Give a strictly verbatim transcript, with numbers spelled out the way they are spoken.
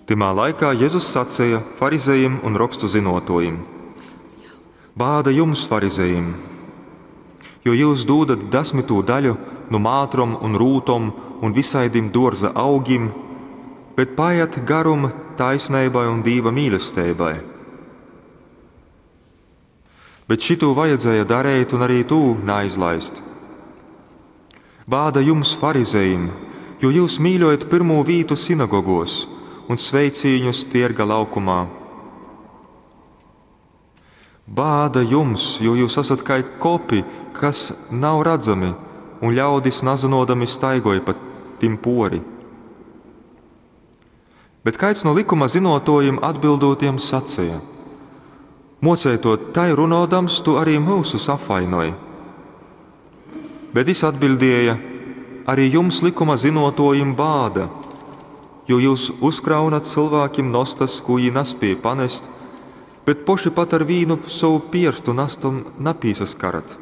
Tymā laikā Jezus saceja farizejim un rokstu zynōtōjim: Bāda jums, farizejim, jo jyus dūdat dasmytū daļu nu mātrom un rūtom un vysaidim dōrza augim, bet paejat garum taisneibai un Dīva mīlesteibai. Bet šitū vajadzēja dareit un arī tū naizlaist. Bāda jums, farizejim, jo jyus mīļojat pyrmū vītu sinagogōs un sveicīņus tierga laukumā. Bāda jums, jo jūs asat kai kopi, kas nav radzami, un ļaudis nazynōdami staigoj pa tim pōri. Bet kaids nu lykuma zynōtōjim atbildūt jam saceja: Mōceitōj, tai runōdams, tu arī myusus apvainoj. Bet jys atbiļdēja: Arī jums, lykuma zynōtōjim, bāda, jo jyus uzkraunat cylvākim nostas, kū jī naspēj panest, bet poši pat ar vīnu sovu pierstu nastom napīsaskarat.